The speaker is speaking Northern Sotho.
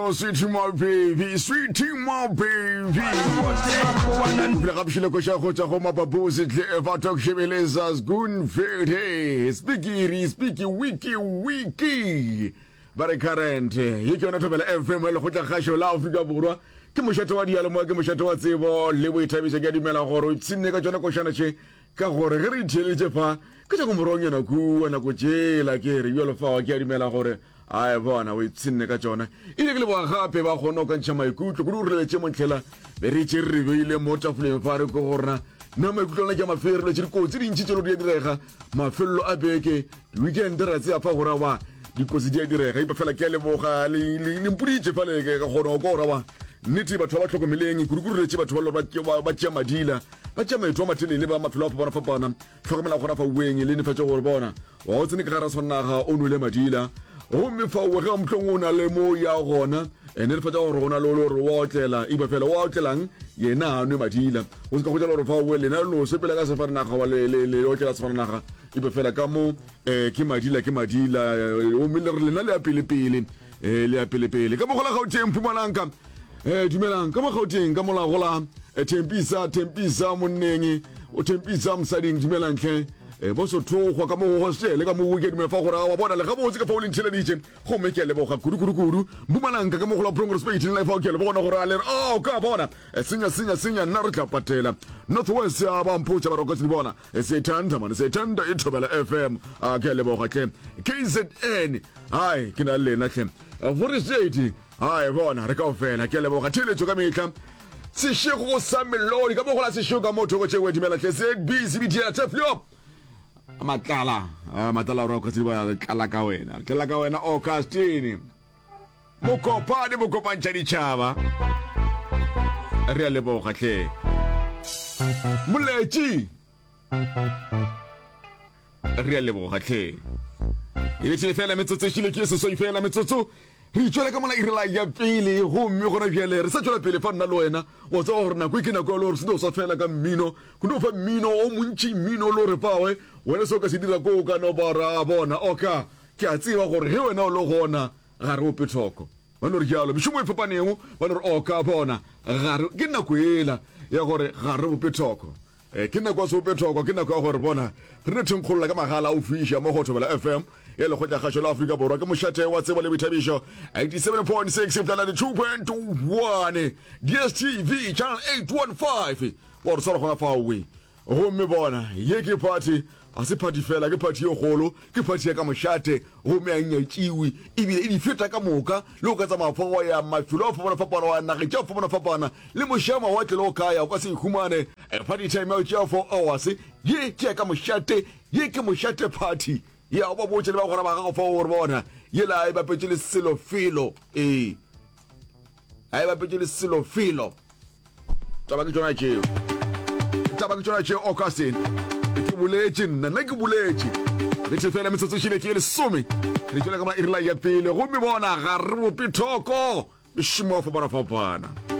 Oh, sweetie my baby, sweetie my baby. Pele ga bošile koša go tšwa go mapapusi tle efa talk shebeleza sgoon fete speakiri speaky wiki wiki ba re current ye ke yona thobela fm ya lekgotla kgašo la afrika borwa ke mošate wa diyalemoya ke mošate wa tsebo le boithabišo ke a dumela gore o ipshinne ka tšona košana tše ka gore ge re itheeleditše fa ke tša ko morong yona kua nako tšela ke re bjalo fao ke a dumela gore Ae bona, o ipshinne ka tšona. Ile ke leboga gape ba kgone go ka ntšha maikutlo kudu re lebetše montlhela be re tše re beile mo tafoleng fa re ko go rena na maikutlo lona ke a mafe re lebetše dikotsi dintši tšelo di a direga mafelelo a beke di-weekend ra tsea fa gore wa dikotsi di a direga ipa fela ke a leboga le mpoditše fa le ka kgona go kwa gore wa nnete batho ba ba hlokomeleng kudu-kudu re letše batho ba le ba tšea madila ba tšea maeto a matelele ba mafelo a fapana-fapana Hlokomela gona fa ueng le nefatše gore bona wa o tsene ka gara swannaga o nwele madila gomme fa o ge mohlong o na le mo ya gona e netefatša gore go na le o le gore wa otlela iba fela wa otlelang yena a nwe madila o se ka gotela gore fa o lena le no sepela ka sefaranaga wa le le le otlela sefaranaga iba fela ka mo eh, ke madila ke madila gomme le re lena le ya pele pele eh, le ya pele pele ka mogola Gauteng Mpumalanga eh, dumelang ka mo Gauteng ka mola gola eh, Thempisa Thempisa monneng o Thempisa mosading dumelang tlhe eh, bo sothogwa ka mo go hostele ka mo go ke dumela fa gore wa bona le gabotse ka fa o le ntheleditše gomme ke a leboga kudu kudu kudu Mpumalanga ka mo gola Progress Page le fa ke le bona gore a le oh ka bona eh, senya senya senya nna re tla patela North West ya ba mpotša ba rokotse di bona eh, sethanda mane sethanda e thobela FM a ke a leboga tlhe KZN Hai, ke na le lena hle. Forestate, hai, bona, re kaofela. Ke a leboga. Theeletšo ka mehla. Sešego sa melodi, ka mo go la sešego ka mo thoko tšewe dumela hle. ZB, CBT, Teflio. Matlala, ah, matlala ro ka tseba re tlala ka wena. Re tlala ka wena Augustine. Mokopane mokopantšha ditšhaba. Re a leboga hle. Moletši. Re a leboga tlhe. E bethile fela metsotso e šile ke seswai fela metsotso. Re itšwela ka mola irela ya pele gomme gona bjale re sa tšwela pele fa nna le wena wa tseba gore nako e ke nako ya le gore se no swa fela ka mmino go no fa mmino o montši mmino le gore fawe wena se o ka se dira ko o ka no ba ra bona oka ke a tseba gore ge wena o le gona ga re ope thoko ba no re jalo mešomo e fapanego ba no re oka bona ga re ke nako ela ya gore ga re ope thoko Eh, ke nako ya seopethoko, ke nako ya gore bona re ne thenkgolola ka magala a o fiša mo go Thobela FM ya Lekgotlakgašo la Afrika Borwa. Ke mošate wa tsebo le boithabišo 87.6 fihla 92.1 DSTV channel 815 wa re swara gona faowe. Gomme bona ye ke party Ga se phathi fela, ke phathi ye kgolo, ke phathi ya ka mošate, gomme ga e nyatšiwe, ebile e di feta ka moka. Le go ka tsamaya fa wa ya mafelo a go fapana-fapana, wa ya nageng tša go fapana-fapana, le moše a mawatle le go ka ya, o ka se e humane. Party time ya go tšea 4 hours, ye ke ya ka mošate, ye ke mošate phathi. Ya, o ba botše le bagwera ba gago fao gore bona, yela ga e bapetše le selo felo. Ee, ga e bapetše le selo felo. Taba ke tšona tšeo. Taba ke tšona tšeo, Augustine. Ke boletše nna, nna ke boletše. Re the fela metsotso šile ke lesome. Re tšwela ka ma iri la ya pele gomme bona ga re bope thoko. Mešomo ya fapana fapana.